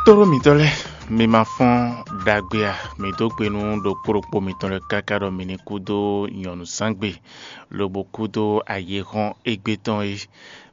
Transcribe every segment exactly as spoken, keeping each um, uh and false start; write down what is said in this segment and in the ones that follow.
Tóɖó mǐtɔn lɛ́ɛ, mi ma fɔ́n ɖagbe a? Mi dó gbe nú ɖokpó ɖokpó mitɔn lɛ́ɛ káká ɖɔ mi ní kú dó nyɔ̌nuzángbe, lobo kú dó ayihɔ́n égbé tɔn é.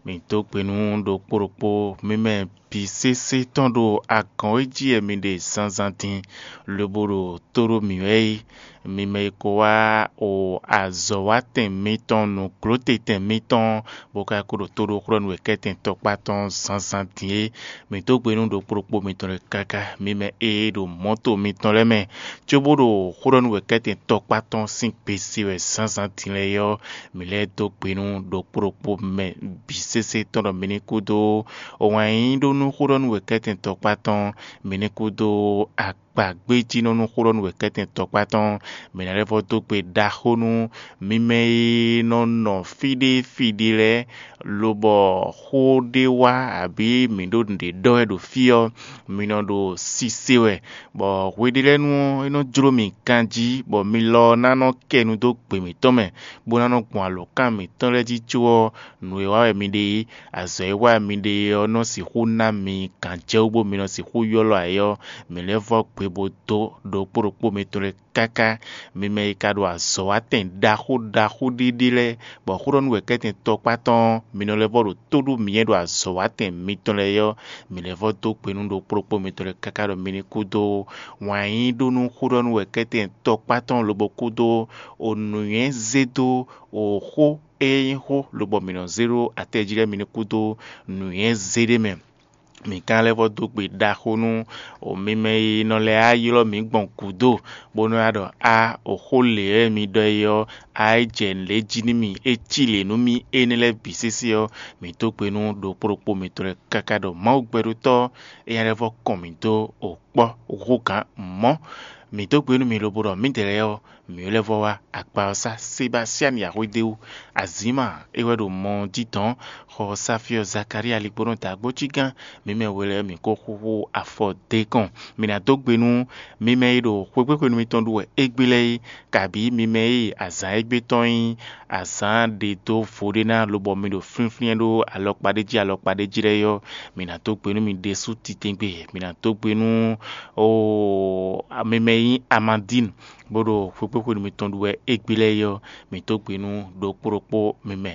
Mi dó gbe nú ɖokpó ɖokpó mímɛ bǐ sésé tɔn ɖo agɔ̌n e jí wɛ mi ɖe zǎnzǎn din, lobo ɖo tó ɖó mǐ wɛ é. Mi mɛ e ko wá o azɔ̌watɛn mitɔn, nǔglótetɛn mitɔn, bó ka ko ɖo tó ɖó xlɔ́ nú wěkɛ́tɛn tɔkpá tɔn zǎnzǎn din é. Mi dó gbe nú ɖokpó ɖokpó mitɔn lɛ́ɛ káká, mi mɛ e ɖo mɔ̌to mitɔn lɛ́ɛ mɛ, cóbó ɖo xó ɖɔ nú wěkɛ́tɛn tɔkpá tɔn sín gbe se wɛ zǎnzǎn din lɛ́ɛ é ɔ́, mi lɛ́ dó gbe nú ɖokpó ɖokpó mɛ bǐ sésé tɔn ɖɔ mi ní kú dó wǎn yíyí ɖó nú xó ɖɔ nú wěkɛ́tɛn tɔkpá tɔn, mi ní kú dó akpa gbéjínɔ nú xó ɖɔ nú wěkɛ́tɛn tɔkpá tɔn, mi ná lɛ́ vɔ́ dó gbe ɖaxó nú mi mɛ e nɔ nɔ fí ɖé fí ɖé lɛ́ɛ, lobɔ xó ɖé wá abǐ mǐ ɖo nǔɖé ɖɔ wɛ ɖo fí ɔ́, mi nɔ ɖo sise wɛ, bɔ hweɖélɛ́nu ɔ́, é nɔ jló mì ganjí, bɔ mi lɔ ɔ́ ná nɔ kɛ nu dó gbe mǐtɔn mɛ, bó ná nɔ gbɔn alǒkan mǐtɔn lɛ́ɛ jí có ɔ́, nǔ e wa wɛ mi ɖe é, azɔ̌ e wa wɛ mi ɖe é ɔ́ nɔ sixú ná mi gǎnjɛwú bó mi nɔ sixú ylɔ́ ayǐ ɔ́, mǐ lɛ́ vɔ́ gbe bó dó ɖokpó ɖokpó mitɔn lɛ́ɛ káká. Mi mɛ e ka ɖo azɔ̌watɛn ɖaxó ɖaxó ɖé ɖé lɛ́ɛ, bɔ xó ɖɔ nú wɛ̌kɛ́tɛn tɔkpá tɔn ɔ́, mi nɔ lɛ́ vɔ́ ɖo tó ɖó mǐ e ɖo azɔ̌watɛn mitɔn lɛ́ɛ é ɔ́, mǐ lɛ́ vɔ́ dó gbe nú ɖokpó ɖokpó mitɔn lɛ́ɛ káká ɖɔ mi ní kú dó wǎn yí ɖó nú xó ɖɔ nú wɛ̌kɛ́tɛn tɔkpá tɔn lobo kú dó o nǔnywɛ́ zé dó o xó e nyí xó lobɔ mǐ nɔ zé ɖó atɛ jí lɛ́ɛ mi ní kú dó nǔnywɛ́ zé ɖé mɛ. Mǐ ka lɛ́ vɔ́ dó gbe ɖaxó nú o mi mɛ e nɔ lɛ́ á ylɔ́ mǐ gbɔn gǔdo, bó nɔ́ wá ɖɔ: "A, o xó lě wɛ mi ɖɔ é ɔ́, a é jɛ nǔɖé jí nú mì, é cí lě nú mì énɛ́ lɛ́ɛ bǐ sésé ɔ́, mǐ dó gbe nú ɖokpó ɖokpó mitɔn lɛ́ɛ káká ɖɔ Mawu gbɛɖótɔ́ é nya lɛ́ vɔ́ kɔn mǐ dó o kpɔ́ hú gǎn mɔ̌. Mǐ dó gbe nú mi lobo ɖɔ mǐdɛɛ lɛ́ɛ ɔ́, mǐ lɛ́ vɔ́ wá akpa ɔ́ sá Sebasiani Axwédéwu, Azǐma é wɛ ɖo mɔ ɔ́ jí dɔ̌n, xɔ Safyɔ Zakalía ligbónɔ dǎgbójígán, mǐ mɛ we lɛ́ɛ mǐ ko xúxú afɔ d'é kɔn. Mǐ ná dó gbe nú mi mɛ e ɖo xwégbéxwenu mitɔn ɖu wɛ égbé lɛ́ɛ é, kabǐ mi mɛ e azǎn égbé tɔn nyí azǎn ɖe dó vo ɖé ná lobɔ mi ɖo flínflín ɖó alɔkpa ɖé jí alɔkpa ɖé jí lɛ́ɛ é ɔ́, mǐ ná dó gbe nú mi ɖésú titewungbe. Mǐ ná dó gbe nú o mi mɛ e nyí Amadín, bó ɖo xwégbéxwenu mitɔn ɖu wɛ égbé lɛ́ɛ é ɔ́, mǐ dó gbe nú ɖokpó ɖokpó mi mɛ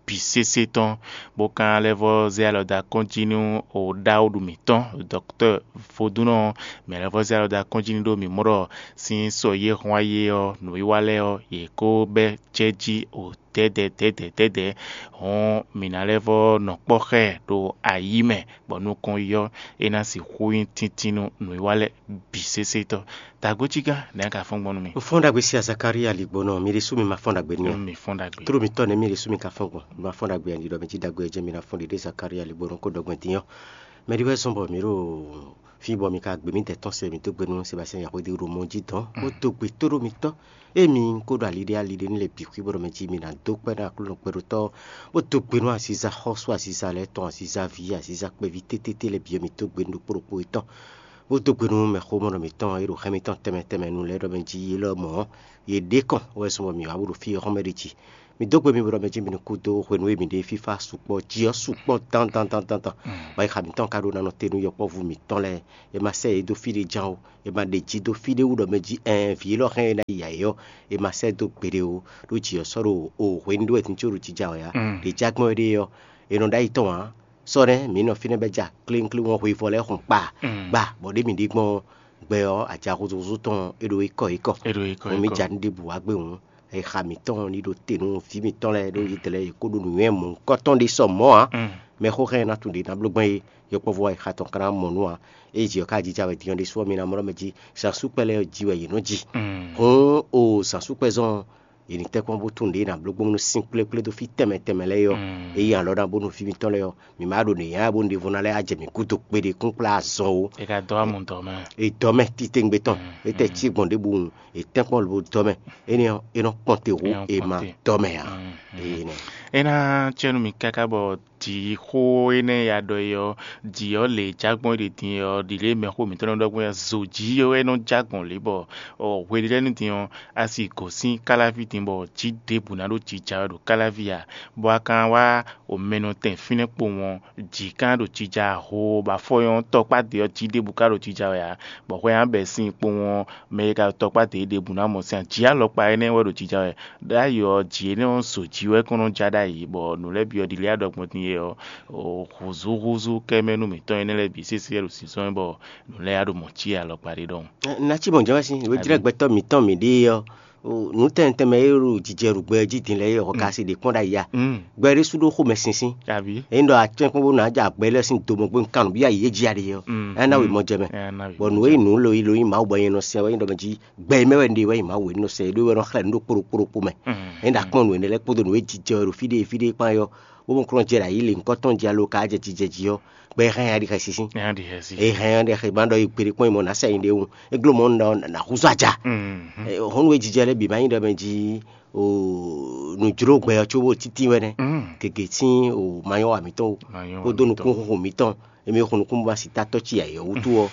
bǐ sésé tɔn, bó ka lɛ́ vɔ́ zé alɔ dó akɔ́n jí nú o ɖaxó ɖu mǐtɔn, dɔ̌ktɔ́ Vodúnnɔ ɔ́, mǐ lɛ́ vɔ́ zé alɔ dó akɔ́n jí nú ɖó mǐ mɔ ɖɔ sín sɔ yě hɔn ayé ɔ́, nǔwiwa lɛ́ɛ ɔ́, yě kó bɛ́ jɛ jí o dɛ̌dɛ̌ dɛ̌dɛ̌ dɛ̌dɛ̌, hɔn mǐ ná lɛ́ vɔ́ nɔ kpɔ́ xá ɛ ɖo ayǐ mɛ, bɔ nukɔn yi ɔ́, é ná sixú nyí tíntín nú nǔwiwa lɛ́ɛ bǐ sésé tɔn. Dǎgbójígán, nɛ̌ a ka fɔ́n gbɔn nú mì? Un fɔ́n ɖagbe sia Zakalía ligbónɔ, mi ɖésú mi ma fɔ́n ɖagbe n'i ó. Mi fɔ́n ɖagbe. Tló mitɔ́ nɛ̌ mi ɖésú mi ka fɔ́n gbɔn? Mi ma fɔ́n ɖagbe a? Ɖiɖɔ mi jí ɖagbe ɔ́ jɛ́n mi ná fɔ́n ɖiɖe Zakalía ligbónɔ kó ɖɔ gbɛn din ɔ́. Mɛ ɖi wɛ zɔ́n bɔ mǐ ɖo fí bɔ mi ka gbe mǐdɛɛ tɔn se, mǐ dó gbe nú Sebastiyɛn Yaxwédi ɖo mɔ jí dɔn, bó dó gbe tóɖó mitɔ́. Ée mi ko ɖo ali ɖé ali ɖé ní lɛ́ɛ bǐ xwí bó ɖɔ mɛ jí mi ná dó kpɛ́ ná Aklúnɔ kpɛɖótɔ́, bó dó gbe nú aziza xɔ́sú aziza lɛ́ɛ tɔn, aziza ví, aziza kpɛví tétété lɛ́ɛ bǐ ɔ́, mi dó gbe nú ɖokpó ɖokpó yětɔn, bó dó gbe nú mɛxómɔnɔ mǐtɔn e ɖo hɛn mitɔn tɛnmɛ tɛnmɛ nu lɛ́ɛ ɖɔ mɛ jí yě lɔ mɔ̌, yě ɖě kɔn wɛ zɔn bɔ mǐ wá bó ɖo fí e xɔ́mɛ ɖe jí. Mi dó gbe mi bó ɖɔ mɛ jí mi ní kú dó hwenu e mǐ ɖe fífá sukpɔ́ jí ɔ́ sukpɔ́ dán dán dán dán dán. Bɔ ayixa mǐtɔn ka ɖó ná nɔ te nú yɔkpɔ́vú mǐtɔn lɛ́ɛ, è ma sɛ yě dó fí ɖé ján ó, è ma ɖe jí dó fí ɖé wú ɖɔ mɛ jí ɛɛn vǐ élɔ́ hɛn é ná yi yǎ é ɔ́, è ma sɛ dó gbeɖé ó, ɖó jǐ ɔ́ sɔ́ ɖo o hwenu ɖé wɛ din có ɖo jija wɛ ǎ. Ɖě já gbɔn é ɖe ɔ́, è nɔ ɖó ayi tɔn ǎ. Sɔ́ nɛ́ mǐ nɔ fínɛ́ bɛ́ ja klínkín wɔn hwevɔ lɛ́ɛ xun kpa gba, bɔ ɖě mǐ ɖe gbɔn gbɛ ɔ́, ajaxuxu tɔn é ɖo é kɔ é kɔ. É ɖo é kɔ é kɔ. Mǐ ja nǔ ɖěbǔ wá gbé hǔn, exa mǐtɔn ní ɖo te nú vǐ mǐtɔn lɛ́ɛ ɖó yě dlɛ́ yě kó ɖo nǔnywɛ́ mɔ̌hunkɔtɔn ɖé sɔ mɔ̌ ǎ. Mɛxó hɛn ná tunwun ɖě ná bló gbɔn é, yɔkpɔ́vú exa tɔn ka ná mɔ nǔ ǎ. Ée jǐ ɔ́ ka jija wɛ din ɔ́ ɖésú ɔ́, mi ná mlɔ́ mɛ jí, zǎnsúkpɛ lɛ́ɛ ɔ́ ji wɛ yě nɔ ji. Hǔn o zǎnsúkpɛ zɔn ɔ́, yě ní tɛ́ kpɔ́n bó tunwun ɖě è nǎ bló gbɔn nú sín kplékplé dó fí tɛnmɛ tɛnmɛ lɛ́ɛ é ɔ́, ényí alɔ ná bónú fí mitɔn lɛ́ɛ ɔ́, mǐ ma ɖo nǔ nyá bónú ɖěvo ná lɛ́ wá jɛ mǐ gúdo kpéɖé kúnkplá azɔn ó. È ka dɔ́ amɔ dɔ̌ mɛ. È dɔ́ mɛ titewungbe tɔn, é tɛ cí gbɔn ɖěbǔ wun, è tɛ́nkpɔ́n lobo dɔ́ mɛ. Énɛ́ ɔ́, é nɔ kpɔn te hú è ma dɔ́ mɛ ǎ. Énɛ́. É ná cɛ́ nú mì káká bɔ jǐxó énɛ́ e a ɖɔ é ɔ́, jǐ ɔ́ lě e jágbɔn é ɖe din é ɔ́, ɖi lě e mɛxó mǐtɔn nɔ ɖɔ gbɔn é, zǒjí ɔ́ wɛ nɔ jágbɔn lě bɔ hweɖélɛ́nu din ɔ́, a si gǒ sín káláví din bɔ jǐ ɖěbǔ ná ɖo jija wɛ ɖo káláví ǎ, bɔ a ka wá omɛnɔtɛn fínɛ́ kpowun ɔ́, jǐ ka ɖo jija hoo, bɔ afɔ nyɔ́ tɔkpá ɖě ɔ́ jí ɖěbǔ ka ɖo jija wɛ ǎ, bɔ hwɛ nya bɛ́ sín kpowun ɔ́, mɛ e ka ɖo tɔkpá ɖě ɖěbǔ ná mɔ sín jí alɔkpa énɛ́ wɛ ɖo jija wɛ. Ɖ'ayǐ ɔ́, jǐ énɛ́ ɔ́ zo jí wɛ kɔn nɔ ja ɖ'ayǐ, bɔ nǔ lɛ́ɛ bǐ ɔ́ ɖi lɛ́ ɖɔ gbɔn din é ɔ́, húzúhúzú kɛ́mɛ nú mǐtɔn énɛ́ lɛ́ɛ bǐ sésé wɛ ɖo zǐnzɔ́n wɛ, bɔ nǔ lɛ́ɛ wá ɖo mɔ cí alɔkpa ɖé ɖɔhun. Na cí mɔ̌ jɛ́n wɛ sín, nǔ e jlɛ́ gbɛtɔ́ mǐtɔn mǐ ɖe é ɔ́, nǔ tɛnmɛ tɛnmɛ e ɖo jijɛ ɖo gbɛ jí din lɛ́ɛ é, hɔn ka se ɖě kpɔ́n ɖ'ayǐ a? Gbɛ ɖésú ɖó xomɛ sínsín. Abǐ. Ényí ɖɔ a cɛ́n kpɔ́n bó ná jɛ agbɛ lɛ́ɛ sín do mɔ gbé un kan nǔ byɔ́ ayǐ é jí a ɖe ɔ́, é ná wí mɔ jɛ mɛ. Bɔ nǔ e nyí nǔ lo yi lo nyí Mawu bɔ nyɛ nɔ sɛn wɛ nyí ɖɔ mɛ jí gbɛ e mɛ wɛ un ɖe wɛ nyí Mawu e nɔ sɛn é ɖó wɛ nɔ xlɛ́ nǔ ɖo kpóɖokpóɖokpó mɛ. Ényí ɖɔ akpɔ́n nǔ énɛ́ lɛ́ɛ kpódó nǔ e jijɛ wɛ ɖo fí ɖé fí ɖé kpán é ɔ́, bó mɔ kplɔ́n jɛ ɖo ayǐ lě ŋkɔ́ tɔn jí alo ka jɛ jijɛ jí ɔ́, gbɛ e hɛn nya ɖi xɛsi sín. Nya ɖi xɛsi. E hɛn nya ɖi xɛ gbán ɖɔ e gbeɖé kpɔ́n yi mɔ nǎ sɛ nyi ɖé wun. É gló mɔ nɔ nǎ húzú aja. Hɔn nú e jijɛ lɛ́ɛ bǐ ma nyí ɖɔ mɛ jí o nǔjló gbɛ ɔ́ có bó títí wɛ nɛ́. Gěgé sín o ma nyɔ́ wa mǐtɔn o. Kódó nukúnxoxo mǐtɔn. Emi xo nukún ma si ta tɔ́ ci ayǐ ɔ́ wútu ɔ́,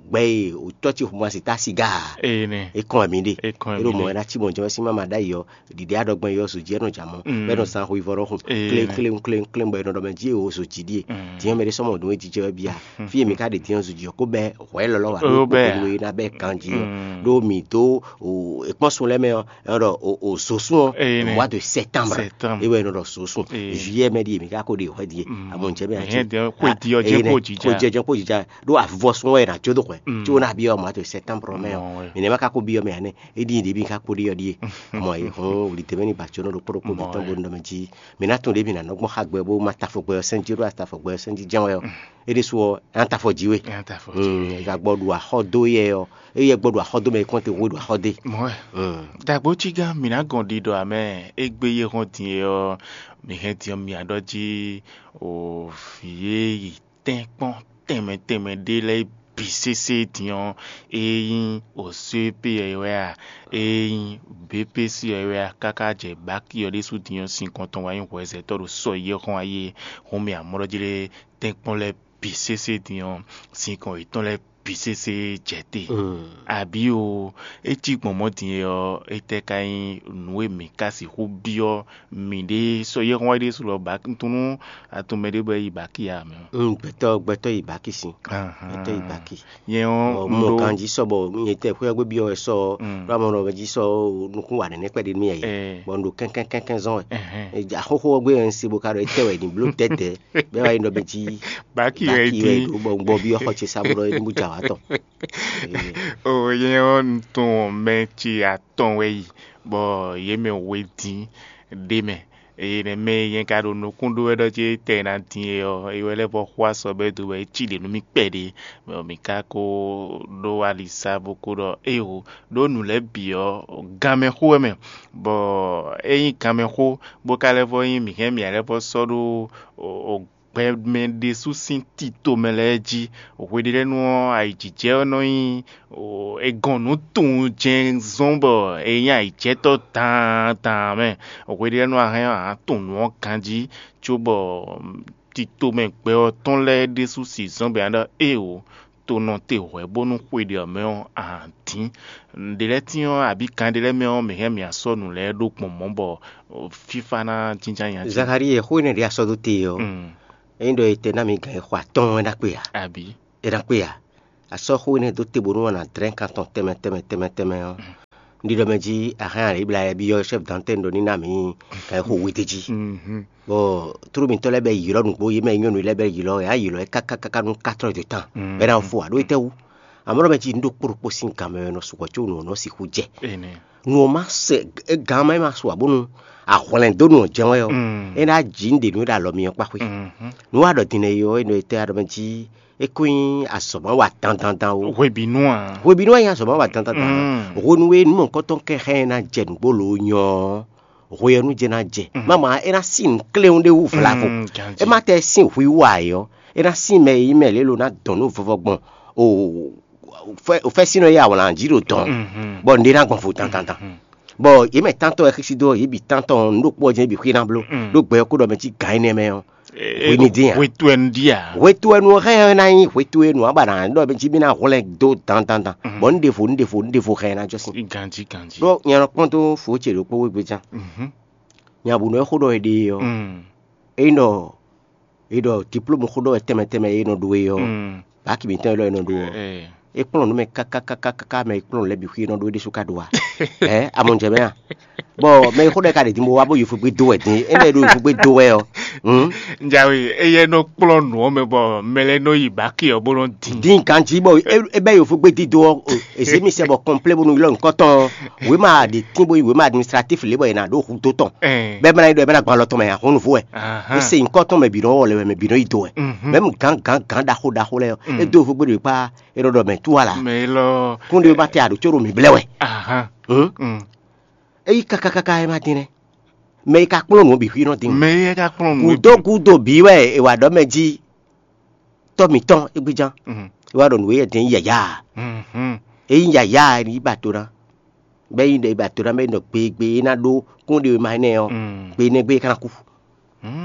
gbɛ e o tɔ́ ci xo ma si ta siga ǎ. É kɔn wɛ mǐ ɖe. É ɖo mɔ̌ wɛ ná cí mɔ̌ jɛ́n wɛ sín má ma ɖ'ayǐ ɔ́, ɖiɖě aɖɔgbɛn yɔ zǒ jí ɛ nɔ jǎ mɔ, bɔ é nɔ zán xwivɔ́ ɖɔhun kléŋkléŋ kléŋkléŋ bɔ è nɔ ɖɔ mɛ jí e o zǒ jí ɖíe. Dín ɔ́ mɛ ɖé sɔ́ mɔ nǔ e jijɛ wɛ bíá. Fí e mǐ ka ɖe dín ɔ́ zǒ jí ɔ́, kó bɛ́ hwɛ̌ lɔlɔ́ wǎ ɖó kpókpóɖó e ná bɛ́ ganjí ɔ́, ɖó mǐ dó èkpɔ́n sun lɛ́ɛ mɛ ɔ́, è nɔ ɖɔ o zǒsún ɔ́, mois de septembre. É wɛ è nɔ ɖɔ zǒsún. Juillet mɛ ɖíe mǐ ka ko ɖe hwɛ ɖíe. Amɔ̌ jɛ mɛ ati. Xwedi ɔ́ jẹ́ kó jija. Xwedi ɔ́ jẹ́ kó jija. Ɖó avivɔsún wɛ è nǎ jó dó hwɛ. Có ná byɔ́ mois de septembre mɛ ɔ́. Mǐ nɛ́ ma ka ko byɔ́ mɛ ǎ nɛ́. É ɖíe ɖě mǐ ka ko ɖe ɔ́ ɖíe. Mɔ é hɔn wlǐdɛ́mɛ ní ba jónɔ ɖokpó ɖokpó mǐtɔn bó nɔ mɛ jí. Mǐ ná tunwun ɖě mǐ ná nɔ gbɔn xá gbɛ bó má tafɔ gbɛ ɔ́ sɛn jí ɖó atafɔ gbɛ ɔ́ sɛn jí jɛ́n wɛ ɔ́. É ɖésú ɔ́, é ná tafɔ jí we. É ná tafɔ jí we. Gǎgbɔ ɖu axɔ dó yɛ ɔ́, éyɛ́ gbɔ ɖu axɔ dó mɛ é kɔn te hwe ɖu axɔ dé. Mɔ̌ wɛ. Dagbo cí gán mǐ ná gɔn ɖiɖɔ amɛ égbé yé hɔn din é ɔ́, mǐ hɛn din ɔ́ mǐ aɖɔ jí o vǐ e yi tɛ́nkpɔ́n tɛnmɛ tɛnmɛ ɖé lɛ́ɛ bǐ sésé din ɔ́, é nyí o C P ɔ́ wɛ a, é nyí B P C ɔ́ wɛ a, káká jɛ baki ɔ́ ɖésú din ɔ́, sin kɔn tɔn wá nyí hwɛzɛtɔ́ ɖo sɔ e yé hɔn ayé hɔn mì amɔ̌ jí lé tɛ́nkpɔ́n lɛ́ɛ bǐ sésé din ɔ́, sin kɔn yětɔn lɛ́ɛ bǐ sésé jɛ te. Abǐ o, é cí gbɔn mɔ̌ din é ɔ́, étɛ́ ka nyí nǔ e mǐ ka sixú byɔ́ mǐɖée sɔ́ yɛ́hɔ́n wá ɖésú lɔ bǎ? Un tunwun nú a tunwun mɛ ɖé bɔ é yi bǎki ǎ mɛ. Gbɛtɔ́ gbɛtɔ́ yi bǎki sín. Gbɛtɔ́ yi bǎki. Nyɛ ɔ́, un mɔ ɖó ganjí sɔ bɔ nyɛ tɛ xwé ɔ́ gbé byɔ́ wɛ sɔ ɔ́, ɖó amɔ nɔ jí sɔ nukún wa nɛnɛ kpɛɖé nú mì yɛ. Bɔ un ɖo kɛnkɛn kɛnkɛn zɔn wɛ. Axóxó ɔ́ gbé wɛ un se bó ka ɖɔ étɛ́ wɛ è nǐ bló tɛ́tɛ́. Bɛ́ wá yi nɔ mɛ jí baki wɛ baki wɛ dín. Ɖo bɔ un gbɔ byɔ́ xɔ ce sá bó ɖɔ é ní bó jɛ awǎ tɔn. O nyɛ ɔ́, un tunwun mɛ ce atɔn wɛ yi, bɔ yě mɛ we dín ɖ'é mɛ. Eye nɛ̌ mɛ e nyɛ ka ɖo nukún ɖó wɛ ɖɔ jí tɛ ná dín é ɔ́, é wɛ lɛ́ vɔ xo asɔ bɔ é dó bɔ é cí ɖě nú mì kpɛɖé, bɔ mǐ ka ko ɖó ali sá bó ko ɖɔ éeǒ, ɖó nǔ lɛ́ɛ bǐ ɔ́, ganmɛ xó wɛ mɛ, bɔ é nyí ganmɛ xó, bó ka lɛ́ vɔ nyí mǐ hɛn mǐ lɛ́ vɔ sɔ́ ɖó gbɛmɛ ɖésú sín tito mɛ lɛ́ɛ jí. Hweɖélɛ́nu ɔ́, ayǐjijɛ ɔ́ nɔ nyí è gɔn nǔ tunwun jɛ́n zɔ́n bɔ è nyí ayǐjɛtɔ́ daandan mɛ. Hweɖélɛ́nu ɔ́, a hɛn ɔ́, a nǎ tunwun nǔ ɔ́ ganjí, cóbɔ tito mɛ gbɛ ɔ́ tɔn lɛ́ɛ ɖésú sixú zɔ́n bɔ è nǎ ɖɔ éeǒ, to nɔ te hwɛ̌ bónú xwe ɖě ɔ́ mɛ ɔ́, a nǎ dín. Nǔɖé lɛ́ɛ tín ɔ́, abǐ kan ɖé lɛ́ɛ mɛ ɔ́, mǐ hɛn mǐ asɔ́ nǔ lɛ́ɛ ɖó gbɔn mɔ̌ bɔ fífá ná jínjɔ́n nya jí. Zakalíi e xó énɛ́ ɖě a sɔ́ dó te ɔ́, ényí ɖɔ è tɛ ná mi gǎn e xo atɔ́ɔ́n é ná kpe ǎ? Abǐ? É ná kpe ǎ. A sɔ́ xó énɛ́ dó te bónú a nǎ dlɛ́n kan tɔn tɛnmɛ tɛnmɛ tɛnmɛ tɛnmɛ ɔ́, un ɖi ɖɔ mɛ jí a hɛn alǐblá yɛ byɔ́ chɛ́f dantɛ́n ɖɔ ní ná mǐ gǎn e xo we d'é jí. Bɔ tlóló mitɔ́ lɛ́ɛ bɛ ylɔ́ nǔgbó, yě mɛ nyɔ́nu lɛ́ɛ bɛ ylɔ́, yě ná ylɔ́ ɛ káká káká nú quatre heures de temps, bɔ é ná fo ǎ. Ɖó étɛ́wú? Amɔ̌ ɖɔ mɛ jí nǔ ɖokpó ɖokpó sín gan mɛ wɛ nɔ sukpɔ́ có nǔ ɔ́ nɔ sixú jɛ. Nǔ ɔ́ má sɛ, gan má ma su ǎ bónú a hwlɛ̌n dó nǔ ɔ́ jɛ́n wɛ ɔ́, é ná jǐ nǔɖé nú é ɖo alɔ mi ɔ́ kpá xwé. Nǔ wa ɖɔ din lɛ́ɛ é ɔ́, é nɔ etɛ́ a ɖɔ mɛ jí é kó nyí azɔ̌ má wa dandandan ó. Hwebǐnu a? Hwebǐnu wɛ nyí azɔ̌ má wa dandandan. Hwenu e nǔ mɔ̌hunkɔtɔn kɛ xá ɛ ná jɛ nǔgbó lǒ nyɔ ɔ́, hwe ɔ́ nú jɛ ná jɛ. Máma é ná sín nǔ kléwún ɖé wú vlavo. É má tɛ sín hwi wú ǎ é ɔ́, é ná sín mɛ e nyí mɛ lě lo ná dɔn nú vɔvɔ gbɔn o fɛ́sínnɔ e awlǎn jí ɖo dɔn, bɔ nǔɖé ná gbɔn vo dandandan. Bɔ yě mɛ tántɔ́ wɛ xísí dó, yě bǐ tántɔ́ ɔ́, nǔ ɖokpó ɔ́ jɛ́n yě bǐ xwíná bló ɖó gbɛ ɔ́ kúɖɔ mɛ cí gǎn énɛ́ mɛ ɔ́. Hwenu dín a? Hwetu wɛ nu ɖíe a? Hwetu wɛ nu ɔ́ hɛn ɔ́ ná nyí hwetu e nu ɔ́ ba ná ɖɔ mɛ jí mì ná hwlɛ́n dó dandandan. Bɔ un ɖevo un ɖevo un ɖevo hɛn ná jɔ sín. Ganjí ganjí. Ɖó nyɛ nɔ kpɔ́n dó fǒ ce ɖokpó wegbe ján. Nya bǔ nɔ e xó ɖɔ è ɖe ɔ́, é ɖɔ è ɖɔ diplôme xó ɖɔ wɛ tɛnmɛ tɛnmɛ e nɔ ɖu é ɔ́, baki mǐtɔn e lɔ e nɔ ɖu ɔ́, é kplɔ́n nǔ mɛ káká káká káká mɛ e kplɔ́n lɛ́ɛ bǐ xwí e nɔ ɖó é ɖésú ka ɖu a? Ɛ amɔjɛ mɛ a? Bɔ mɛ e xó ɖɔ ka ɖe din bó wá bó yi fúgbé dó wɛ din, é lɛ́ ɖo yi fúgbé dó wɛ ɔ́. Njawe, éyɛ́ nɔ kplɔ́n nǔ ɔ́ mɛ bɔ mɛ lɛ́ɛ nɔ yi baki ɔ́ bó nɔ din. Din ganjí bɔ é bɛ yi fúgbé dídó ɔ́, èsé mi sɛ bɔ kɔnplé bónú ylɔ́ nǔkɔn tɔn wěma ɖe tín bó yi wěma administratif lě bɔ è nǎ ɖó hudó tɔn. Bɛ́ mɛ ná yi ɖɔ é bɛ ná gbɔn alɔ tɔn mɛ a, hɔn nǔvú wɛ. É se nyǐkɔ tɔn mɛ bǐ nɔ wɔ lɛ wɛ, mɛ bǐ nɔ yi do wɛ. Mɛ̌m gǎn gǎn gǎn ɖaxó ɖaxó lɛ́ɛ ɔ́, é dó fúgbé ɖo kpá é ɖɔ ɖɔ mɛ tú ala. Mɛ élɔ́ kún ɖé bá tɛ aɖǒ có ɖo mǐ blɛ́ wɛ. Ahán. É yí káká káká é má dín nɛ́. Mɛ e ka kplɔ́n nǔ ɔ́ bǐ xwí nɔ dín. Mɛ e ka kplɔ́n nǔ. Gǔdo gúdo bǐ wɛ è wa ɖɔ mɛ jí tɔ́ mǐtɔn égbéján. É wá ɖɔ nǔ e din nyí yǎyá. É nyí yǎyá e ní ba to ná. Bɛ́ nyí ɖe ba to ná bɛ́ nyí ɖɔ gbe gbe e ná ɖó kún ɖe ma énɛ́ ɔ́, gbe énɛ́ gbe é ka ná kú.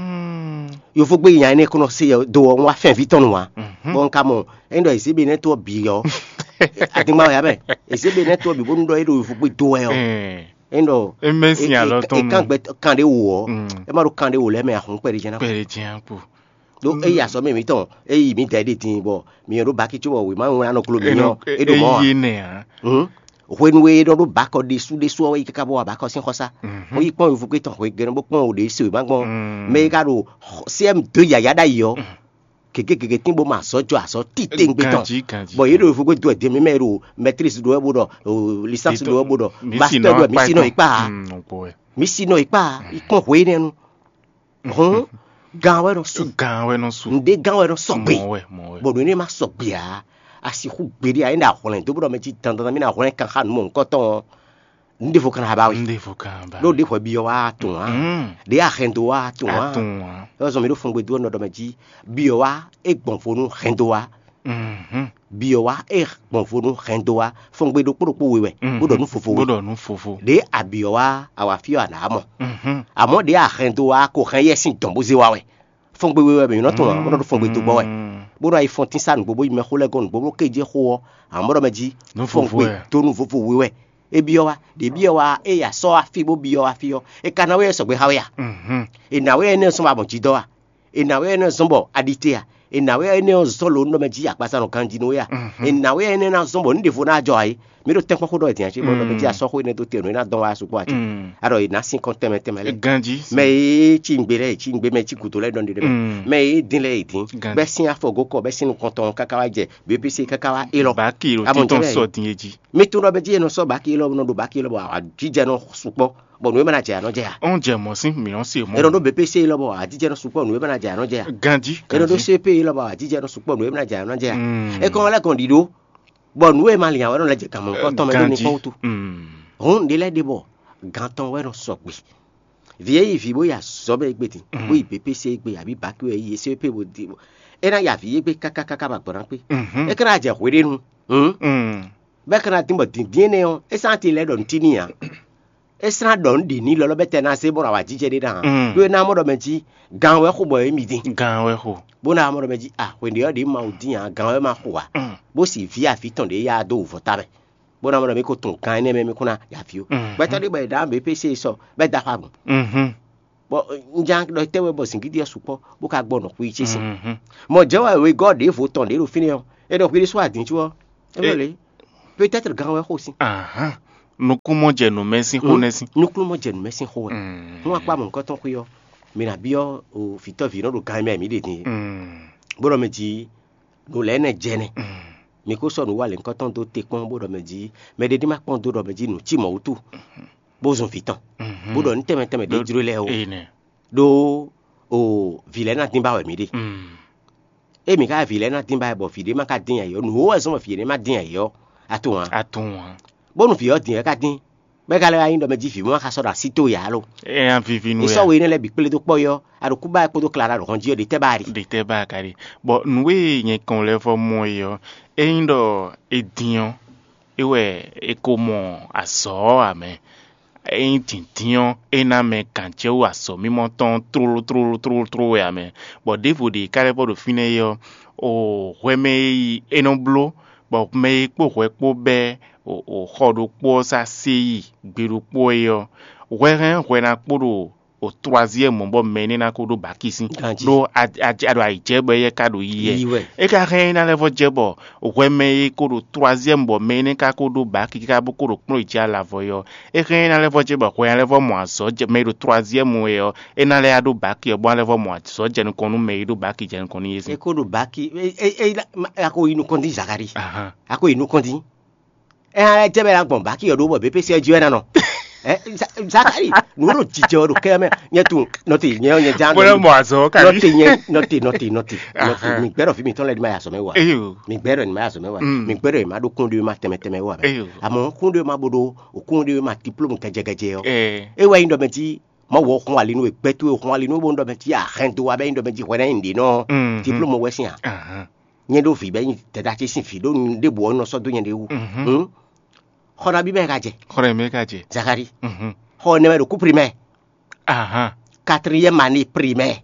Yovógbe nya énɛ́ kɔnɔ se do ɔ́, un wá fɛ́nví tɔn nu ǎ. Bɔ un ka mɔ é ɖɔ ezébe nɛ́ tó ɔ́ bǐ ɔ́, adingba wɛ ǎ mɛ. Ezébe nɛ́ tó ɔ́ bǐ bónú ɖɔ é ɖo yovógbe do wɛ ɔ́, é ɖɔ É mɛ sin alɔ tɔn é kan gbɛ kan ɖé wò ɔ́, é ma ɖo kan ɖé wò lɛ́ɛ mɛ ahɔn kpɛɖé jɛ́n ná. Kpɛɖé jɛ́n kpo. Ɖó é yi azɔ̌ mɛ mǐtɔn, é yi mǐ dɛ ɖé din bɔ mǐ nyɔ́ ɖó baki cóbɔ wěma wlán nɔ glo mǐ nyɔ́ é ɖo mɔ̌ ǎ. Yé nɛ ǎ. Hwenu e é nɔ ɖó bakɔ ɖésú ɖésú ɔ́ wɛ yi káká bó wa bakɔ sín xɔsá. Bó yi kpɔ́n yovógbe tɔn hwegɛ́nú bó kpɔ́n wǒ ɖě se wěma gbɔn. Mɛ e ka ɖo C M deux yǎyá ɖ'ayǐ ɔ́, gěgé gěgé tín bó ma azɔ̌ jɔ azɔ̌ titewungbe tɔn. Ganjí, ganjí, bɔ yě ɖo yovógbe dó wɛ din, mǐ mɛ e ɖo maîtrise ɖó wɛ bó ɖɔ, licence ɖó wɛ bó ɖɔ, master ɖó wɛ, mǐ sí nɔ yi kpá ǎ. Mǐ sí nɔ yi kpá ǎ, yi kpɔ́n hwe énɛ́ nu. Hɔn gán wɛ nɔ su. Gán wɛ nɔ su. Ǹdé gán wɛ nɔ sɔgbe. Mɔ wɛ, mɔ wɛ. Bɔ nǔ énɛ́ ma sɔgbe ǎ. A sixú gbeɖé ǎ, é ɖo ahwlɛ́n dó bó ɖɔ mɛ jí dandan mì ná hwlɛ́n kan xá nǔ mɔ̌hunkɔtɔn ɔ́, un ɖěvo kan ná ba we. Un ɖěvo kan ba. Ɖó ɖěvo ɛ byɔ́ wá tunwun ǎ. Ɖě a hɛn dó wá tunwun ǎ. Tunwun ǎ. É wá zɔn mì ɖó fɔngbe dó ɔ́ nɔ ɖɔ mɛ jí byɔ́ wá é gbɔn vo nú hɛn dó wá. Byɔ́ wá é gbɔn vo nú hɛn dó wá. Fɔngbe ɖokpó ɖokpó we wɛ. Bó ɖɔ nú vovo we. Bó ɖɔ nú vovo. Ɖě a byɔ́ wá a wǎ fí ɔ́ a nǎ mɔ. Amɔ̌ ɖě a hɛn dó wá ko hɛn yɛ sín dɔn bó zé wá wɛ. Fɔngbe we wɛ mǐ nɔ tunwun ǎ, bó nɔ ɖo fɔngbe dó gbɔ wɛ. Bó nɔ yi fɔntín sá nǔgbó bó yi mɛxó lɛ́ɛ gɔ́n nǔgbó bó ké jɛ xó ɔ́, amɔ̌ ɖɔ mɛ jí fɔngbe dó nú vovo we wɛ. É byɔ́ wá, ɖě byɔ́ wá é ya sɔ́ wá fí bó byɔ́ wá fí ɔ́, é ka ná wɛ sɔgbe xá we a? È nǎ wɛ énɛ́ sɔ́ wá mɔ jǐ dɔ́ a? È nǎ wɛ énɛ́ zɔ́n bɔ a ɖi te a? È nǎ wɛ énɛ́ ɔ́ zɔ́n lǒ nɔ mɛ jí akpasa nɔ ganjí nú we a? È nǎ wɛ énɛ́ ná zɔ́n bɔ nǔ ɖěvo ná jɔ a é? Mǐ ɖo tɛ́nkpɔ́n xó ɖɔ wɛ din ǎ cí bɔ nɔ mɛ jí a sɔ́ xó énɛ́ dó te nǔ é ná dɔn wá sukpɔ́ a cí. A ɖɔ è nǎ sín kɔn tɛnmɛ tɛnmɛ lɛ́ɛ. Ganjí. Mɛ e cí nǔgbé lɛ́ɛ è cí nǔgbé, mɛ e cí gǔdo lɛ́ɛ ɖɔn ɖe ɖé mɛ. Mɛ e dín lɛ́ɛ è dín. Bɛ́ sín afɔ gǒ kɔ bɛ́ sín nukɔn tɔn káká wá jɛ B P C káká wá élɔ́. Baki ɖo Amɔ títɔn jɛ sɔ din e jí. Mi tunɔ bɛ jí e nɔ sɔ baki élɔ́ nɔ ɖo baki élɔ́ bɔ ajijɛ nɔ sukpɔ bɔ nǔ e mɛ na jɛ anɔ jɛ a. Ɔn jɛ mɔ sín mi nɔ se mɔ. E nɔ ɖo B P C élɔ́ bɔ ajijɛ nɔ sukpɔ nǔ e mɛ na jɛ anɔ jɛ a. Ganjí. E nɔ ɖo C P élɔ́ bɔ ajijɛ nɔ sukpɔ nǔ e mɛ na jɛ anɔ jɛ a. E kɔn lɛ gɔn ɖiɖo bɔ nǔ e ma lin awɛ nɔ lɛ jɛ gǎnmɔ kɔtɔn mɛ ɖo nukɔn wutu. Hɔn ɖe lɛ ɖe bɔ gantɔn wɛ nɔ sɔgbe. Vǐ e yi vǐ bó yi azɔ̌ mɛ égbé din, bó yi B P C égbé, abǐ baki wɛ yi C P bó di. É ná ya vǐ égbé káká káká ba gbɔ̌ ná kpé. É ká ná jɛ hweɖénu. Bɛ́ ká ná dín bɔ dǐndín énɛ́ ɔ́, é sán ati lɛ́ɛ ɖɔ nǔtí n'i ǎ. É sán ɖɔ nǔ ɖě n'i lɔlɔ́ bɛ́ tɛ ná zé bɔ awǎjijɛ ɖé ná. Ɖó é ná mɔ ɖɔ mɛ jí gan wɛ xo bɔ émí dín. Gan wɛ xo. Bó ná mɔ ɖɔ mɛ jí a hwěɖé ɔ́ ɖě Mawu dín ǎ, gan wɛ má xo ǎ. Bó si vǐ avǐ tɔn ɖě ya dó wǔvɔ́ ta mɛ. Bó ná mɔ ɖɔ mí ko tunwun gan énɛ́ mɛ mí kún ná ya vǐ ó. Gbɛtɔ́ ɖé bɔ è ɖǎ mɛ pé se sɔ bɛ́ da xɔ agun. Bɔ un ján ɖɔ tɛ́ wɛ bɔ zǐngídi ɔ́ sukpɔ́ bó ka gbɔ nɔ xwi ce sin. Mɔ jɛ́ wɛ wegɔ́ ɖěvo tɔn ɖě ɖo fínɛ́ ɔ́, é ɖɔ hwi ɖésú adǐn có ɔ́, é ɖɔ lě. Peut-être gan wɛ xo sín. Nukúnmɔ jɛ nǔ mɛ sín xó nɛ́ sín. Nukúnmɔ jɛ nǔ mɛ sín xó wɛ. Hún akpá mɔ̌hunkɔtɔn xwé ɔ́, mǐ ná byɔ́ vǐtɔ́ vǐ nɔ ɖo gan mɛ mǐ ɖe din é. Bó ɖɔ mɛ jí nǔ lɛ́ɛ nɛ jɛ nɛ. Mǐ ko sɔ́ nǔ wa lěhunkɔtɔn dó te kpɔ́n bó ɖɔ mɛ jí mɛ ɖé ní ma kpɔ́n dó ɖɔ mɛ jí nǔ cí mɔ̌ wútu, bó zun vǐ tɔn, bó ɖɔ nǔ tɛnmɛ tɛnmɛ ɖé jló lɛ́ɛ ó. Ɖó o vǐ lɛ́ɛ ná dín ba wɛ mǐ ɖe. Ée mǐ ka vǐ lɛ́ɛ ná dín ba wɛ bɔ vǐ ɖé ma ka dín ayǐ ɔ́, nǔ wó wɛ zɔ́n bɔ vǐ énɛ́ ma dín ayǐ ɔ́, a tunwun ǎ. A tunwun ǎ. Bónú vǐ ɔ́ din ɔ́ ka dín, bɔ é ka lɛ́ wá nyí ɖɔ mɛ jí vǐ mɔ ma ka sɔ́ ɖo así towe ǎ lo. É nya vivi nú È sɔ́ we énɛ́ lɛ́ɛ bǐ kplé dó kpɔ́ yɔ́, Aɖukuba kpódó Klára ɖo hɔn jí ɔ́, ɖě tɛ́ ba a ɖi? Ɖě tɛ́ ba a ka ɖi? Bɔ nǔ e nyɛ kɔn lɛ́ vɔ mɔ é ɔ́, ényí ɖɔ è din ɔ́, é wɛ è ko mɔ azɔ̌ ɔ́ ǎ mɛ. Ényí dǐndín ɔ́, é ná mɛ gǎn jɛ wú azɔ̌mimɔ tɔn tlóló tlóló tlóló tlóló wɛ ǎ mɛ. Bɔ ɖěvo ɖě ka lɛ́ vɔ ɖo fínɛ́ é ɔ́, o hwɛ mɛ e yi é nɔ bló, bɔ mɛ e kpó hwɛ kpó bɛ́ o xɔ ɖokpó ɔ́ sá sé yi gbe ɖokpó é ɔ́, hwɛ hɛn hwɛ ná kpó ɖo o troisième bɔ mɛ énɛ́ ná ko ɖó baki sín. Ɖó a ɖo ayǐ jɛ bɔ éyɛ́ ka ɖo yi wɛ. É ka hɛn é ná lɛ́ vɔ jɛ bɔ hwɛ mɛ e ko ɖo troisième bɔ mɛ énɛ́ ka ko ɖó baki káká bó ko ɖo kplɔ́n yi jɛ alavɔ é ɔ́, é hɛn é ná lɛ́ vɔ jɛ bɔ hwɛ ná lɛ́ vɔ mɔ azɔ̌ jɛ mɛ e ɖo troisième é ɔ́, é ná lɛ́ yá ɖó baki ɔ́ bó ná lɛ́ vɔ mɔ azɔ̌ jɛ nukɔn nú mɛ e ɖó baki jɛ nukɔn nú é sín. É ko ɖo baki é é é a ko yi nukɔn dín Zakari. Ahan. A ko yi nukɔn dín. Ɛ hã jɛ bɛ na gbɔn baki ɔ́ ɖó bɔ bépé sɛ jí wɛ na nɔ. Ɛ Zakari, nǔ ɖo jijɛ ɔ ɖo kɛ mɛ. Nyɛ tun nɔte nyɛ ɔ́ nyɛ ján. Bó lɛ mɔ azɔ kabi. Nɔte nyɛ nɔte nɔte nɔte nɔte. Mi gbɛdɔ fi mi tɔn lɛ ni ma ya sɔmɛ wa. Eyo. Mi gbɛdɔ ni ma ya sɔmɛ wa. Mi gbɛdɔ ni ma ɖo kún ɖe ma tɛmɛ tɛmɛ wa bɛ. Eyo. Amɔ kún ɖe ma bo ɖo o kún ɖe ma diplôme gɛjɛgɛjɛ ɔ. Ɛ. E wa yin dɔ mɛ ti ma wɔ xɔn ali nu e gbɛtu e xɔn ali nu bo dɔ mɛ ti a hɛn do wa bɛ yin dɔ mɛ ti hwɛ na yin ɖe nɔ. Diplôme wɛ sin a. Ahan. Nyɛ ɖo vǐ bɛ nyi dɛda ce sín vǐ ɖó nu ɖěbǔ ɔ́ nɔ sɔ́ dó nyɛ ɖé wú. Xɔ nabí mɛ ka jɛ? Xɔ nabí mɛ ka jɛ? Zakari. Xɔ nɛmɛ ɖo kú primɛ. Ahan. Quatrième année primɛ.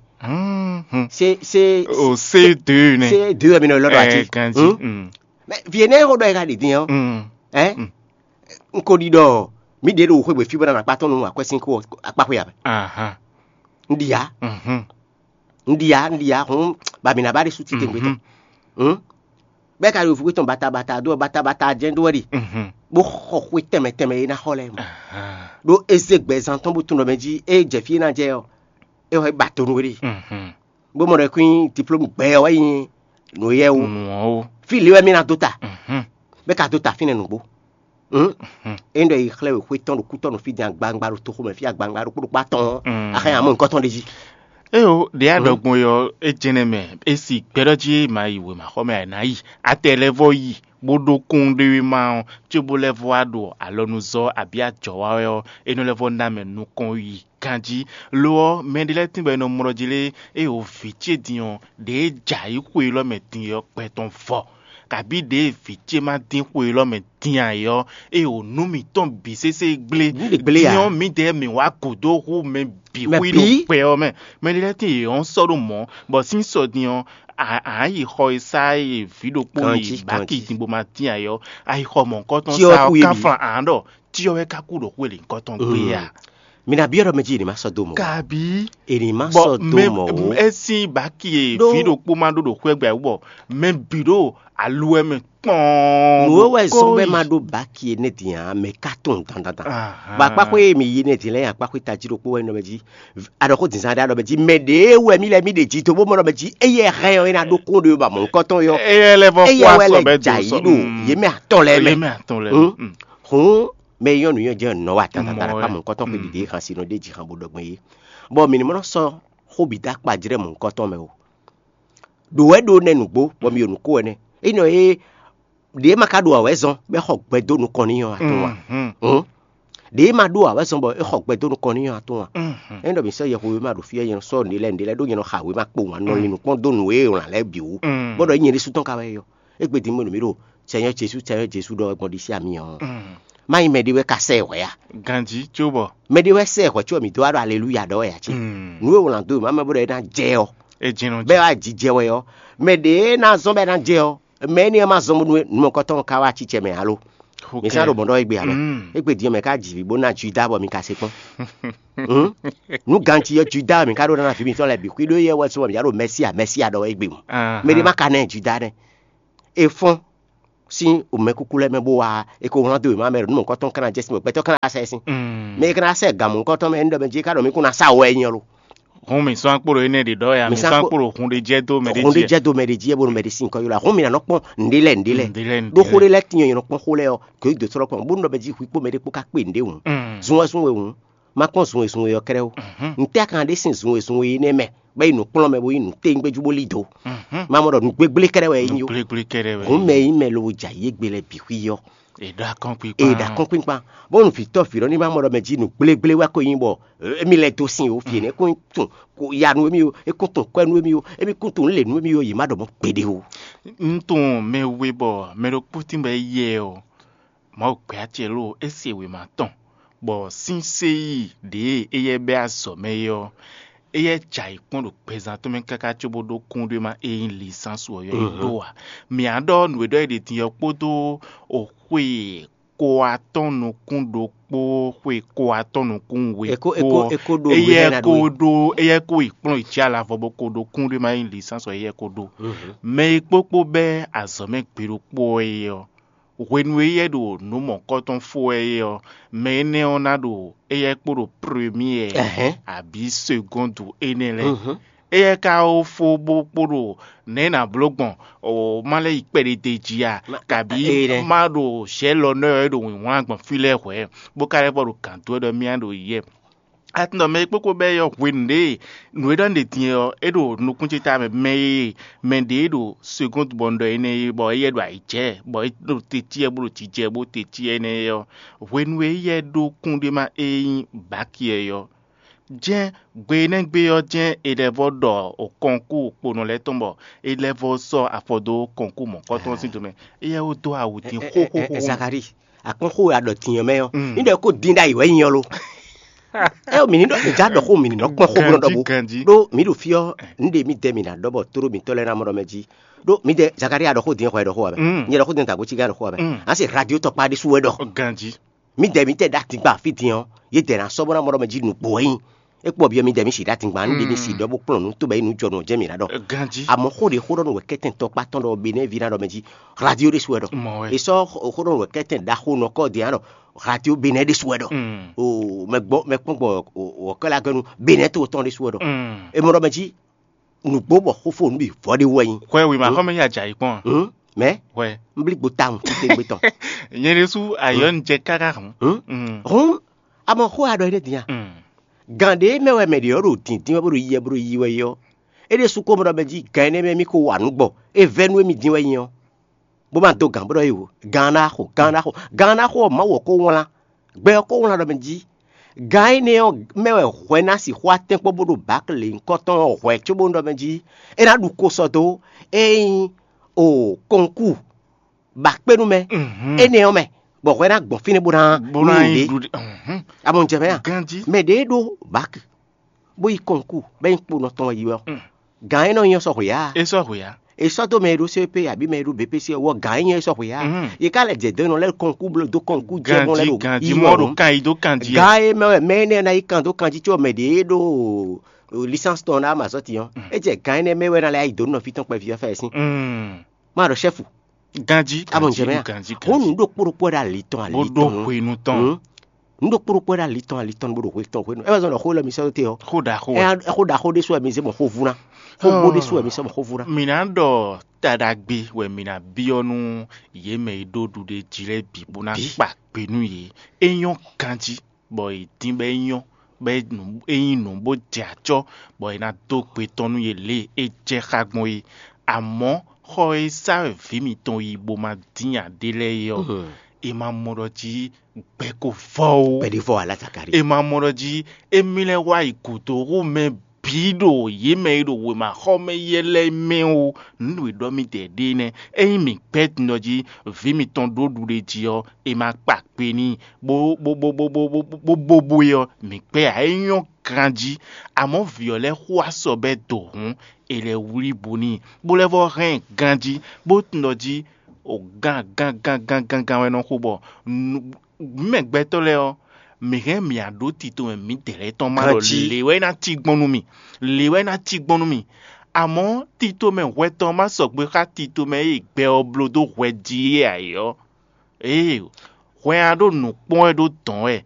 Sé sé O C deux nɛ. Sé deux mi nɔ lɔ ɖo ati. Ganji. Mɛ vie nɛ xɔ ɖɔ yi ka ɖi din ɔ́. Ɛ n ko ɖi ɖɔ mi ɖe ɖo xwé gbe fí bɔ na akpa tɔn nu akwɛ́sín kó akpa xwé abɛ. Ahan. N ɖi ya. Un ɖi ya, un ɖi ya hǔn ba mǐ ná ba ɖésú titewungbe tɔn. Hǔn bɛ́ ka ɖo vúgbé tɔn batabata dó ɔ́ batabata jɛ́n dó wɛ ɖi, bó xɔ xwé tɛnmɛ tɛnmɛ e ná xɔ lɛ́ɛ mɔ. Ɖó é zé gbɛzán tɔn bó tunwun ɖɔ mɛ jí é jɛ fí é ná jɛ ɔ́, é xɔ é ba to nú we ɖi. Bó mɔ ɖɔ é kún nyí diplôme gbɛ ɔ́ wɛ nyí nǔ éyɛ́ ó. Nǔ ɔ́ ó. Fí lě wɛ mì ná dó ta, bɛ́ ka dó ta fínɛ́ nǔgbó. Hǔn é ɖɔ yi xlɛ́ we xwé tɔn ɖo kú tɔn ɖo fí din agbangba ɖo toxo mɛ fí agbangba ɖo kpóɖo kpá tɔn. Axɛ amɔ nukɔn tɔn ɖe jí. Éyo ɖě a ɖɔ gbɔn yɔ é jɛnɛ mɛ é si gbɛɖɔ jí ma yi wěma xɔ mɛ a nǎ yi atɛ lɛ́ vɔ yi bó ɖó kún ɖé wé ma ɔ́, cóbó lɛ́ vɔ wá ɖo alɔnuzɔ́ abǐ ajɔ̌ wa wɛ ɔ́, é nɔ lɛ́ vɔ ná mɛ nukɔn yi ganjí. Lo ɔ́, mɛ ɖé lɛ́ɛ tíngbɔ è nɔ mlɔ jí lé, ée wǒ vǐ ce din ɔ́, ɖěe jɛ ayǐ xwe élɔ́ mɛ din ɔ́ gbɛ tɔn vɔ, kabǐ ɖěe vǐ ce ma dín xwe élɔ́ mɛ din ǎ é ɔ́, ée wǒ nú mǐtɔn bǐ sésé gblé. Nǔ ɖě gblé ǎ. Din ɔ́, mǐdɛɛ mǐ wá gǔdo hú mɛ bǐ Mɛ xwí ɖo bǐ? Gbɛ ɔ́ mɛ. Mɛ ɖé lɛ́ɛ tíin yě ɔ́ sɔ́ ɖó mɔ̌, bɔ sín sɔ din ɔ́, à à yí xɔ e sá e vǐ ɖokpó Ganjí, yi bǎki ganjí. Din bó ma dín ayɔ, a yi xɔ mɔ̌hunkɔtɔn Tí ɔ́ sá kú ɔ́ yé ká bǐ. Flan ǎ ɖɔ tí ɔ́ wɛ ká kú ɖo xwé lǐnkɔtɔn gbé a. Mi ná byɔ́ ɖɔ mɛ jí è ní má sɔ́ dó mɔ̌. Kabi. È ní má bɔ sɔ́ dó mɛ mɔ̌ o. Esi baki e Ɖó- vi ɖokpó ma ɖó ɖo xwé gbɛ bɔ mɛ bǐ ɖo aluwɛ mɛ kpɔn. Nǔ e wɛ zɔ́n bɔ é ma ɖó baki énɛ́ din ǎ, mɛ ká tunwun dandandan. Ahan. Bɔ akpákpó e mi yi énɛ́ din lɛ́ɛ nyi akpákpó tají ɖokpó wɛ nɔ mɛ jí. Aɖɔxó dǐnzán ɖé aɖɔ mɛ jí mɛ ɖě wɛ mí lɛ mí ɖe jí tó bó mɔ ɖɔ mɛ jí éyɛ hɛn ɔ́ é ná ɖó kún ɖé ba mɔ̌hunkɔtɔn yɔ. Eyɛ lɛ vɔ kó éyɛ wɛ asɔ lɛ bɛ dó jǎ sɔ. Yí ɖo yě mɛ atɔn lɛ mɛ. Yě mɛ atɔn lɛ mɛ. Hǔn mɛ e nyɔ́ nǔnywɛ́ jɛ nɔ wa dandandan Mɔ akpá wɛ. Mɔ̌hunkɔtɔn xwe ɖiɖe xan si nɔ ɖe jí xan bó ɖɔ gbɔn yé. Bɔ mǐ ní mɔ nɔ sɔ́ xó bǐ dó akpa jlɛ́ mɔ̌hunkɔtɔn mɛ o. Ɖǒ wɛ ɖó nɛ́ nǔgbó bɔ mi ɖo nǔ kó wɛ nɛ́. Énɛ́ e ɖě ma ka ɖo awɛ̌ zɔn bɔ é xɔ gbɛ dó nukɔn n'i ɔ́, a tunwun a? Hǔn ɖě ma ɖó awɛ̌ zɔn bɔ é xɔ gbɛ dó nukɔn n'i ɔ́, a tunwun a? Ényí ɖɔ mǐ sɔ́ yɛhweví ma ɖo fí ɔ́, nyɛ nɔ sɔ́ nǔɖé lɛ́ɛ nǔɖé lɛ́ɛ ɖó nyɛ nɔ xa wěma kpo wǎn nɔ lin nǔkpɔ́n dó nǔ e è wlǎn lɛ́ɛ bǐ wú, bó ɖɔ nyɛ ɖésú tɔn ka wɛ é yɔ. Égbé din mɛ nǔ mì ɖo Sɛnyɔ́ Jezu, Sɛnyɔ́ Jezu ɖɔ wɛ gbɔn ɖisí ami ɔ́. Má nyí mɛɖé wɛ ka sɛ ɛ hwɛ̌ a? Ganjí cóbɔ. Mɛɖé wɛ sɛ ɛ hwɛ̌ có mì dó wá ɖo aleluya ɖɔ wɛ ǎ cé? Nǔ e wlǎn dó wěma mɛ bó ɖɔ é ná jɛ ɔ́, é jɛ́n nɔ bɛ́ jɛ. Wá jijɛ wɛ ɔ́, mɛ ɖě ná zɔ́n bɔ é ná jɛ ɔ́, mɛ énɛ́ ɔ́ ma zɔ́n bónú nǔ mɔ̌kɔtɔn ɔ́ ka wá acicɛ mɛ alo? Ok. Mi sá ɖo mɔ̌ ɖɔ égbé alo? Égbé din ɔ́ mɛ ká ji vǐ bó ná Juda bɔ mi ka se kpɔ́n. Nǔ ganti ɔ́ Juda wɛ mi ka ɖó ná ná vǐ mitɔn lɛ́ɛ bǐ xwí ɖó éyɛ́ wɛ sú bɔ mi ká ɖo Mɛsia Mɛsia ɖɔ wɛ égbé mu. Mɛ ɖé ma ka ná ɛ Juda nɛ́. È fɔ́n sín mɛkúkú lɛ́ɛ mɛ bó wá é ko wlán dó wěma mɛ ɖo nú mɔ̌hunkɔtɔn ká ná jɛ sín bɔ gbɛtɔ́ ká ná sɛ sín. Mɛ e ka ná sɛ gǎn mɔ̌hunkɔtɔn mɛ é ní ɖɔ mɛ jí é ká ɖɔ mí kún ná sa wɔ wɛ nyi ɔ́ lo. Hǔn mǐ sɔ́ akpó ɖo énɛ́ ɖě ɖɔ wɛ a? Mǐ Mǐ sɔ́ sɔ́ akpó akpó ɖo hun ɖé jɛ dó mɛ ɖé hun ɖé jí. Jɛ dó mɛ ɖé jí é bónú mɛ ɖé sín nyǐkɔ ylɔ́ a. Hǔn mǐ ná nɔ kpɔ́n nǔɖé lɛ́ɛ nǔɖé lɛ́ɛ. Nǔɖé lɛ́ɛ, nǔɖé Ɖó xó lɛ́ɛ. Ɖé lɛ́ɛ tín ɔ́, nyɛ nɔ kpɔ́n xó lɛ́ɛ ɔ́, kò yí dǒ sɔ́ kpɔ́n bónú ɖɔ mɛ jí hwi kpó mɛ ɖé kpó ká kpé nǔɖé hǔn. Zun wɛ zun we hǔn, má kpɔ́n zun e zun we ɔ́ kɛ́ɖɛ́ ó. Ntɛ́ a ka ná ɖe sín zun e zun we é nɛ́ mɛ, bɔ é yi nǔkplɔ́n mɛ bó nyí nǔtɛ́ngbɛ́ jú bó lí dǒ? Má mɔ ɖɔ nǔgblégblékɛ́ɖɛ́ wɛ é nyí ó. Gblégblé kɛ́ɖɛ́ wɛ. Hǔn mɛ e nyí mɛ lobo jɛ ayǐ égbé lɛ́ɛ bǐ xwí ɔ́. È ɖo akɔ́nkpinkpan. È ɖo akɔ́nkpinkpan. Bónú vǐtɔ́ vǐ ɖɔ ní má mɔ ɖɔ mɛ jí nǔgblégbléwɛ ko nyí bɔ émí lɛ́ dó sin ó, fí énɛ́ kún tunwun yanu émí ó, é kún tunwun kwɛ́ nú émí ó, émí kún tunwun lě nú émí ó, yě má ɖɔ mɔ̌ gbeɖé ó. Un tunwun mɛ we bɔ mɛ ɖokpó tíngbɔ é yɛ ɔ́, Mawu gbɛ acɛ lóo é se wěma tɔn. bɔ sín séyi ɖě éyɛ́ bɛ́ azɔ̌ mɛ é ɔ́, éyɛ́ jɛ ayǐ kpɔ́n ɖo gbɛzán tɔn mɛ káká cóbó ɖó kúnɖéma e nyí lisánsú ɔ́ yɔ́ yi dó ǎ. Mǐ á ɖɔ nǔ e ɖɔ é ɖe din ɔ́ kpódó xwe ko atɔ́ɔ́n nukún ɖokpó, xwe ko atɔ́ɔ́n nukún we kpó ɔ́, éyɛ́ ko ɖó éyɛ́ ko yi kplɔ́n yi jí alavɔ bó ko ɖó kúnɖéma e nyí lisánsú ɔ́ éyɛ́ ko ɖó. Mɛ e kpókpó bɛ́ azɔ̌ mɛ gbe ɖokpó ɔ́ é ɔ́, hwenu e éyɛ́ ɖo nǔ mɔ̌kɔtɔn fó wɛ é ɔ́, mɛ énɛ́ ɔ́ ná ɖo éyɛ́ kpó ɖo première abǐ segɔ́ndu énɛ́ lɛ́ɛ. Éyɛ́ ka ó fó bó kpó ɖo nɛ̌ ná bló gbɔn má lɛ́ yi kpɛɖédé jí a, kabǐ má ɖo zɛ̌ lɔ nɔ́ ɔ́ é ɖo wǐnwlán gbɔn fí lɛ́ɛ hwɛ̌, bó ka lɛ́ vɔ ɖo gǎn dó wɛ ɖɔ mì á ɖo yɛ. Atundɔ mɛ e kpókpó bɛ́ yɔ hwenu ɖě nǔ e ɖɔ un ɖe din ɔ́, é ɖo nukún ce ta mɛ mɛ e mɛ ɖě ɖo segɔ́ndu bɔ un ɖɔ énɛ́ é, bɔ éyɛ́ ɖo ayǐ jɛ, bɔ é ɖo teti ɛ bó ɖo jijɛ bó teti ɛ énɛ́ é ɔ́, hwenu e éyɛ́ ɖó kúnɖéma e nyí baki ɛ ɔ́, jɛ́n gbe énɛ́ gbe ɔ́ jɛ́n è lɛ́ vɔ ɖɔ kɔnkú kponɔ lɛ́ɛ tɔn bɔ è lɛ́ vɔ sɔ́ afɔ dó kɔnkú mɔ̌kɔtɔn ɔ́ sín tomɛ. Éyɛ́ ó dó awu din xóxóxó. Zakalíi, akpɔ́n xó e a ɖɔ din ɔ́ mɛ ɔ́, ní ɖɔ kó dín ɖ'ayǐ wɛ nyí ɔ́ lo. Ɛ mǐ ní ɖɔ mǐ já ɖɔ xó mǐ ní nɔ kpɔ́n xó bó nɔ ɖɔ bó. Ɖó mǐ ɖo fí ɔ́, nǔɖé mǐdɛɛ mǐ ná ɖɔ bɔ tóɖó mǐtɔn lɛ́ɛ ná mɔ ɖɔ mɛ jí. Ɖó mǐdɛɛ Zakalíi a ɖɔ xó din xɔ ɛ ɖɔ xó ǎ mɛ. Nyɛ ɖɔ xó din ta gǒ cí gán ɖɔ xó ǎ mɛ. Á se radio tɔkpá ɖésú wɛ ɖɔ. Mǐdɛɛ mǐtɛɛ ɖó atingban fí din ɔ́, yědɛɛ ná sɔ́ bó ná mɔ ɖɔ mɛ jí nǔgbó wɛ nyí. É kpɔ byɔ́ mǐdɛɛ mǐ si ɖó atingban nú ɖě mǐ si ɖɔ bó kplɔ́n nǔ tobɛ́ nyí nǔ jɔ nǔ ɔ́ jɛ́n mǐ ná ɖɔ. Ganjí. Àmọ́ xó ɖě xó ɖɔ nú wɛ kɛ́tɛn tɔkpá tɔn ɖɔ Benɛ́ɛví ná ɖɔ mɛ jí radio ɖésú wɛ ɖɔ. Mɔ wɛ. È sɔ́ xó ɖɔ nú wɛ kɛ́tɛn ɖaxó nɔ kɔ́ din ná ɖɔ radio Benɛ́ ɖésú wɛ ɖɔ. Mm. O mɛ gbɔ mɛ kpɔ́n gbɔ wɔ̌kɔ́lá gɛ́nu Benɛ́ to tɔn ɖésú wɛ ɖɔ. Mm. È mɔ ɖɔ mɛ jí nǔgbó bɔ xófó nǔ bǐ vɔ ɖé wɛ nyí. Hwɛ wěma xɔmɛ yí ajayi kpɔn a? Hǔn mɛ Hwɛ. Nblígbo tawun títégbe tɔn. Nyɛ ɖésú ayɔ ń jɛ káká hǔn. Hǔn Mm. Hǔn amɔ xó a ɖɔ énɛ́ din a? Mm. Gǎn ɖé mɛ wɛ mɛ ɖě ɔ́ ɖo dǐndín wɛ bó ɖo yiyɛ bó ɖo yiyi wɛ é ɔ́, é ɖésú ko mɔ ɖɔ mɛ jí gǎn énɛ́ mɛ mì ko wa nǔ gbɔ é vɛ́ nú émí din wɛ nyí ɔ́, bó ma dó gǎn bó ɖɔ é wǒ gǎn ná xo gǎn ná xo gǎn ná xo ɔ́ Mawu ɔ́ ko wlán gbɛ ɔ́ ko wlán ɖɔ mɛ jí gǎn énɛ́ ɔ́ mɛ wɛ hwɛ ná sixú atɛ́nkpɔ́n bó ɖo bǎkle nyǐkɔtɔn ɔ́ hwɛ cóbónú ɖɔ mɛ jí é ná ɖu ko sɔ dó é nyí o kɔnkú ba kpé nú mɛ énɛ́ ɔ́ mɛ, bɔ hwɛ ná gbɔn fínɛ́ bó ná bó ná nyi nyi ɖě. Ɖuɖe. Mhm. Amɔnjɛmɛ a? Ganjí. Mɛ ɖě ɖó bak bó yi kɔnkú bɛ nyi kponɔ tɔn yi ɔ́, gan é nɔ nyí ɔ́ sɔxwe ǎ. É sɔ́ hwe ǎ. È sɔ́ dó mɛ e ɖó C P abǐ mɛ e ɖó B P C ɔ́, wɔ gan é nyí ɔ́ é sɔxwe ǎ. Mhm. Yě ká lɛ jɛ dɔ̌n nɔ lɛ́ kɔnkú bló dó kɔnkú jɛ gbɔn lɛ́ Ganjí, ɖo ganjí yi mɔ wɔ ɖo nǔ. Kan yi dó kan jí. Gan é mɛ wɛ mɛ énɛ́ ná yi kan dó kan jí có mɛ ɖě ɖó licence tɔn ná ma zɔ́ din ɔ́, é jɛ gan énɛ́ mɛ wɛ ná lɛ́ yi dǒ nɔ fí tɔn kpɛví ɔ́ fɛ sín. Mm. Má ɖɔ ṣɛ́fu. Ganjí. Abɔ ǹjẹ́ mɛ a? Ganjí, hɔn ganjí. Nǔ ɖo kpóɖokpó ɖo ali tɔn ali Bó ɖó tɔn. Hwenu tɔn. Hmm? Nǔ ɖo kpóɖokpó ɖo ali tɔn ali tɔn bó ɖo hwe tɔn hwenu. Ɛ wá zɔn ɖɔ xó lɛ mi sɔ́ dó te ɔ́. Xó ɖaxó wɛ. Ɛ xó ɖaxó ɖésú wɛ mi zé mɔ xó vú ná. Xó bó ɖésú wɛ mi sɔ́ mɔ xó vú ná. Mǐ ná ɖɔ taɖagbe wɛ mǐ ná byɔ́ nú yě mɛ e ɖó ɖuɖéjí lɛ́ɛ bǐ bó ná Bǐ. Kpa kpe nú yě. É nyɔ́ ganjí bɔ è dín bɔ é nyɔ́ bɔ é nǔ é nyí nǔ bó jɛ acɔ́ bɔ è nǎ dó gbe tɔn nú yě lě e é jɛ xá gbɔn é. Amɔ̌, xɔ e sá wɛ vǐ mitɔn yi bó ma dín ǎ ɖé lɛ́ɛ é ɔ́, è ma mɔ ɖɔ jí gbɛ ko vɔ ó. Pɛɖivɔ ala Zakari. È ma mɔ ɖɔ jí émí lɛ́ wá yi gǔdo hú mɛ bǐ ɖo yě mɛ e ɖo wěmaxɔmɛ yɛ lɛ́ɛ mɛ ó. Nǔ e ɖɔ mì dɛ ɖe nɛ́. Ényí mǐ gbɛ́ din ɔ́ jí vǐ mitɔn ɖó ɖuɖe jí ɔ́, è ma kpa kpe n'i bó bó bó bó bó bó bó bó bó é ɔ́, mǐ gbɛ́ ǎ. É nyɔ́ ganjí. Amɔ̌ vǐ ɔ́ lɛ́ xo asɔ bɛ́ do hǔn, è lɛ́ wlí bo n'i, bó lɛ́ vɔ́ hɛn ɛ ganjí, bó tunwun ɖɔ jí o gán gán gán gán gán gán wɛ nɔ xo bɔ mǐ mɛ gbɛtɔ́ lɛ́ɛ ɔ́, mǐ hɛn mǐ a ɖó tito mɛ mǐdɛɛ lɛ́ɛ tɔn má ɖɔ Ganjí. Lě wɛ é ná cí gbɔn nú mì, lě wɛ é ná cí gbɔn nú mì. Amɔ̌ tito mɛ hwɛ tɔn má sɔgbe xá tito mɛ e gbɛ ɔ́ bló dó hwɛ jí é ǎ é ɔ́, ée hwɛ a ɖó nǔ kpɔ́n wɛ ɖó dɔ̌n wɛ,